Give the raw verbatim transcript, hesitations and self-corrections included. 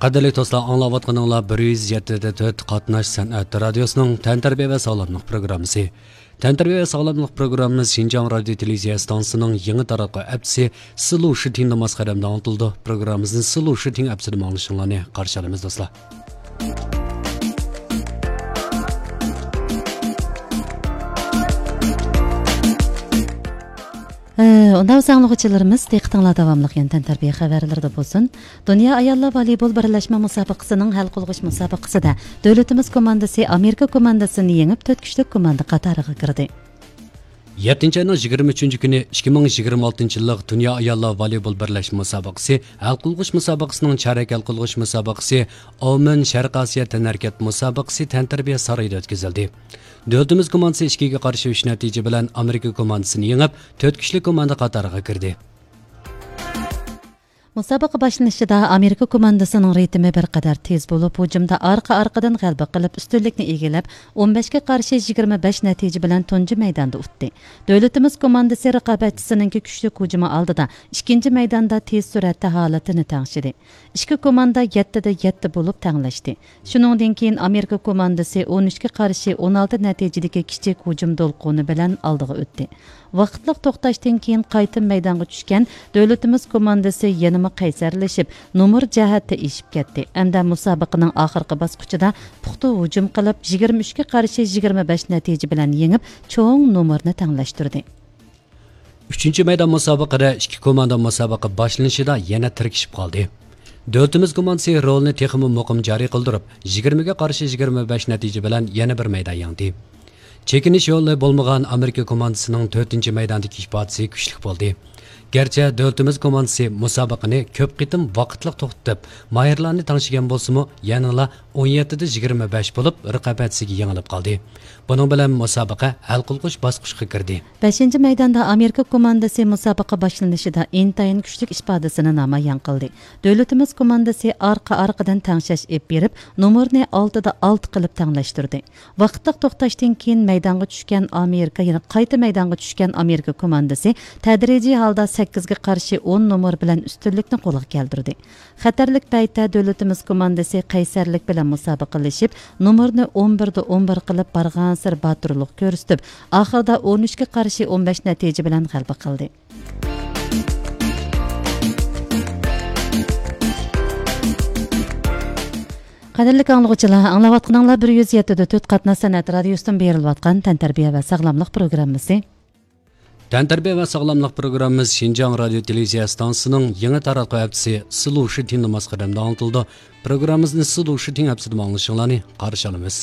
قەدىرلىك دوستلار، ئاڭلاۋاتقىنىڭلار بىر يۈز يەتتە دە تۆت قاتناش سەنئەت رادىيوسىنىڭ تەنتەربىيە ۋە ساغلاملىق پروگراممىسى. تەنتەربىيە ۋە ساغلاملىق پروگراممىمىز شىنجاڭ رادىيو تېلېۋىزىيە ئىستانسىسىنىڭ يېڭى تاراتقۇ ئەپچىسى سىلۇ شىتىڭدا ماس قەدەمدە ئاڭلىتىلىدۇ. پروگراممىمىزنى سىلۇ شىتىڭ ئەپچىدىمۇ ئاڭلىشىڭلارنى قارشى ئالىمىز، دوستلار. ئۇندا بىز ئاڭلىغۇچىلىرىمىز، دىققىتىڭلار داۋاملىق يەنە تەنتەربىيە خەۋەرلىرىدە بولسۇن. دۇنيا ئاياللار ۋالىبول بىرلەشمە مۇسابىقىسىنىڭ ھەل قىلغۇچ مۇسابىقىسىدە دۆلىتىمىز كوماندىسى ئامېرىكا كوماندىسىنى يېڭىپ، تۆت كۈچلۈك كوماندا قاتارىغا كىردى. يەتتىنچى ئاينىڭ يىگىرمە ئۈچىنچى كۈنى ئىككى مىڭ يىگىرمە ئالتىنچى يىللىق دۇنيا ئاياللار ۋالىبول بىرلەشمە مۇسابىقىسى ھەل قىلغۇچ مۇسابىقىسىنىڭ چارەك ھەل قىلغۇچ مۇسابىقىسى ئاۋمېن شەرقىي ئاسىيا تەنھەرىكەت مۇسابىقىسى تەنتەربىيە سارىيىدا ئۆتكۈزۈلدى. دۆلىتىمىز كوماندىسى ئىككىگە قارشى ئۈچ نەتىجە بىلەن ئامېرىكا كوماندىسىنى يېڭىپ، تۆت كۈچلۈك كوماندا قاتارىغا كىردى. مۇسابىقە باشلىنىشىدا ئامېرىكا كوماندىسىنىڭ رىتىمى بىر قەدەر تېز بولۇپ، ھۇجۇمدا ئارقا-ئارقىدىن غەلىبە قىلىپ، ئۈستۈنلۈكنى ئىگىلەپ، ئون بەشكە قارشى يىگىرمە بەش نەتىجە بىلەن تۇنجى مەيداندا ئۇتتى. دۆلىتىمىز كوماندىسى رىقابەتچىسىنىڭكى كۈچلۈك ھۇجۇمى ئالدىدا ئىككىنچى مەيداندا تېز سۈرئەتتە ھالىتىنى تەڭشىدى. ئىككى كوماندا يەتتىدە يەتتە بولۇپ تەڭلەشتى. شۇنىڭدىن كېيىن ئامېرىكا كوماندىسى ئون ئۈچكە قارشى ئون ئالتە نەتىجىدىكى كىچىك ھۇجۇم دولقۇنى بىلەن ئالدىغا ئۆتتى. ۋاقىتلىق توختاشتىن كېيىن قايتا مەيدانغا چۈشكەن دۆلىتىمىز كوماندىسى يەنىمۇ قەيسەرلىشىپ، نومۇر جەھەتتە ئېشىپ كەتتى ھەمدە مۇسابىقىنىڭ ئاخىرقى باسقۇچىدا پۇختا ھۇجۇم قىلىپ، يىگىرمە ئۈچكە قارشى يىگىرمە بەش نەتىجە بىلەن يېڭىپ، چوڭ نومۇرنى تەڭلەشتۈردى. ئۈچىنچى مەيدان مۇسابىقىدە ئىككى كوماندا مۇسابىقە باشلىنىشىدا يەنە تىركىشىپ قالدى. دۆلىتىمىز كوماندىسى رولىنى تېخىمۇ مۇقىم جارى قىلدۇرۇپ، يىگىرمىگە قارشى يىگىرمە بەش نەتىجە بىلەن يەنە بىر مەيدان يەڭدى. چېكىنىش يولى بولمىغان ئامېرىكا كوماندىسىنىڭ تۆتىنچى مەيداندىكى ئىپادىسى كۈچلۈك بولدى. گەرچە دۆلىتىمىز كوماندىسى مۇسابىقىنى كۆپ قېتىم ۋاقىتلىق توختىتىپ، ماھىرلارنى تەڭشىگەن بولسىمۇ، يەنىلا ئون يەتتىدە يىگىرمە بەش بولۇپ، رىقابەتچىسىگە يېڭىلىپ قالدى. بۇنىڭ بىلەن مۇسابىقە ھەل قىلغۇچ باسقۇچقا كىردى. بەشىنچى مەيداندا ئامېرىكا كوماندىسى مۇسابىقە باشلىنىشىدا ئىنتايىن كۈچلۈك ئىپادىسىنى نامايان قىلدى. دۆلىتىمىز كوماندىسى ئارقا-ئارقىدىن تەڭشەش ئېلىپ بېرىپ، نومۇرنى ئالتىدە ئالتە قىلىپ تەڭلەشتۈردى. ۋاقىتلىق توختاشتىن كېيىن مەيدانغا چۈشكەن ئامېرىكا، يەنى قايتا مەيدانغا چۈشكەن ئامېرىكا كوماندىسى تەدرىجىي ھالدا سەككىزگە قارشى ئون نومۇر بىلەن ئۈستۈنلۈكنى قولغا كەلتۈردى. خەتەرلىك پەيتتە دۆلىتىمىز كوماندىسى قەيسەرلىك بىلەن مۇسابىقىلىشىپ، نومۇرنى ئون بىردە ئون بىر قىلىپ بارغانسېرى باتۇرلۇق كۆرسىتىپ، ئاخىرىدا ئون ئۈچكە قارشى ئون بەش نەتىجە بىلەن غەلىبە قىلدى. قەدىرلىك ئاڭلىغۇچىلار، ئاڭلاۋاتقىنىڭلار بىر يۈز يەتتە دە تۆت قاتناش سەنئەت رادىيوسىدىن بېرىلىۋاتقان تەنتەربىيە ۋە ساغلاملىق پروگراممىسى. تەنتەربىيە ۋە ساغلاملىق پروگراممىمىز شىنجاڭ رادىيو تېلېۋىزىيە ئىستانسىسىنىڭ يېڭى تاراتقۇ ھەپتىسى سىلۇ شىتىندا ماس قەدەمدە ئاڭلىتىلىدۇ. پروگراممىمىزنى سىلۇ شىتىن ھەپتىسىدىمۇ ئاڭلىشىڭلارنى قارشى ئالىمىز.